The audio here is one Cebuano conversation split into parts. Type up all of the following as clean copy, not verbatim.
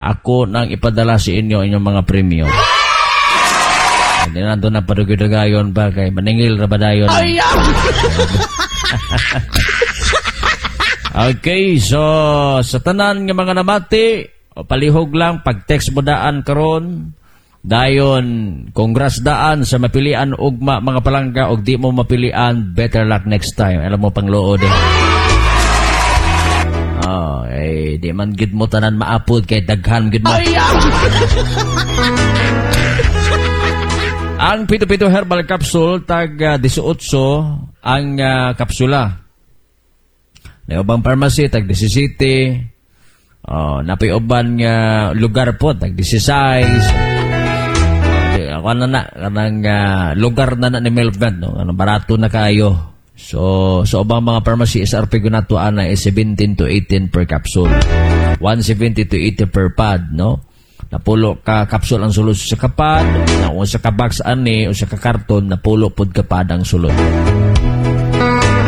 Ako nang ipadala sa inyo inyong mga premyo. Hindi na na padugyudugayon pa kay maningil ra ba dayon. Okay, so sa tanan nga mga namati, o palihog lang pag text mo daan karon. Dayon, congrats daan sa mapilian ugma, mga palangga, og di mo mapilian, better luck next time. Alam mo pangluod eh. Oh, eh, di man gid mo tanan maapod kay daghan gid mo. Ang pito-pito herbal capsule tag 18 ang kapsula. Naubang pharmacy tag 17. Oh, napay uban nga lugar po tag 16. Di, ako na na kanang lugar na na ni Melvin, no, ano, barato na kayo. So sa ubang mga pharmacy, SRP ko ana is 17 to 18 per capsule. 170 to 80 per pad, no? Napulo ka capsule ang sulod sa kapad, na usa ka box ani, usa ka karton, napulo pod ka pad ang sulod.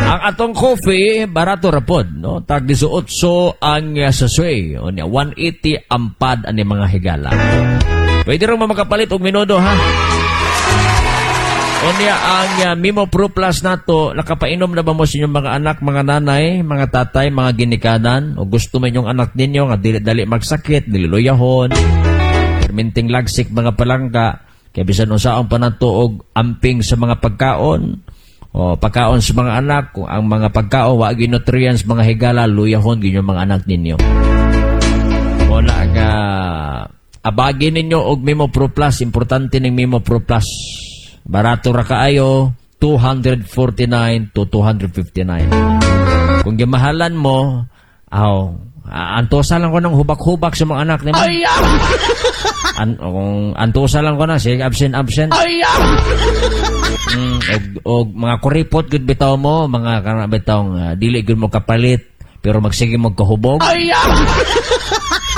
Ang atong coffee, barato ra pod, no? Tag 18 ang sachet. Unya 180 ang pad ani, mga higala. Pwede rin mo makapalit og minudo, ha. Unya ang Mimo Pro Plus nato, nakapainom na ba mo sa inyong mga anak, mga nanay, mga tatay, mga ginikanan, o gusto mo inyong anak ninyo nga dili dali magsakit, dili luyahon, perminting lagsik, mga palangga, kay bisan unsaon pa nato og amping sa mga pagkaon, o pagkaon sa mga anak, kung ang mga pagkaon wa gyud nutrients, mga higala, luyahon gyud yung mga anak ninyo. Wala nga abagi ninyo og Mimo Pro Plus, importante ning Mimo Pro Plus. Barato ra kaayo, 249 to 259. Kung gimahalan mo, aw, antosa lang ko ng hubak-hubak sa mga anak nimo. Kung antosa lang ko na, sige, absent, absent. Og mga kuripot gud bitaw mo, mga kana bitaw nga dili gud mo kapalit, pero magsige mo kahubog.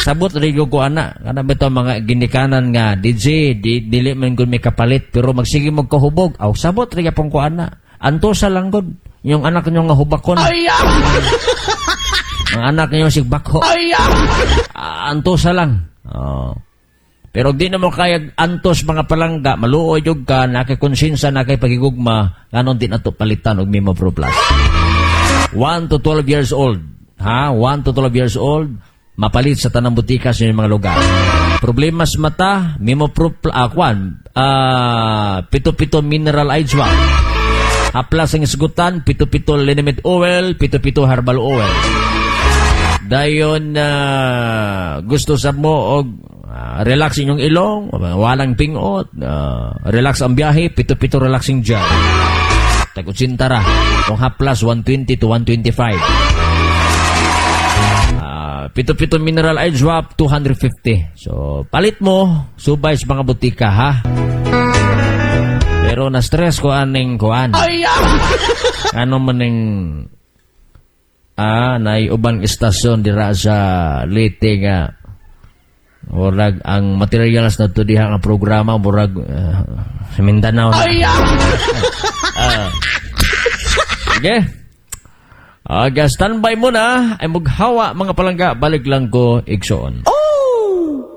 Sabot rin ko ana, kana bitaw mga ginikanan nga DJ, di, dili man gud may kapalit pero magsige mo kahubog. Aw, sabot rin pong ko ana. Antosa lang gud yung anak niyo nga hubakon. Ang anak niyo sig bakho. Antosa lang. Oh. Pero di na mo kaya antos, mga palangga, maluoy jud ka, nakay konsensya, nakay pagigugma, nganon di na to palitan og Mimo Pro Plus. 1 to 12 years old. Ha? 1 to 12 years old, mapalit sa tanang butika sa inyong mga lugar. Problema sa mata, Mimo Pro Plus, kwan, pito-pito mineral eye drop. Haplas ang isgutan, pito-pito liniment oil, pito-pito herbal oil. Dayon gusto sa mo og relax inyong ilong, walang pingot, relax ang biyahe, pito-pito relaxing gel. Tag 80 ra. Kung haplas, 120 to 125. Pito-pito mineral eye drop, 250. So, palit mo, subay sa mga butika, ha? Pero na-stress ko aning kuan. Ano maning nay ubang istasyon dira sa Leyte nga murag ang materials na to diha nga programa murag sa Mindanao na. Okay. Aga, standby muna ay mughawa, mga palangga, balik lang ko igsoon.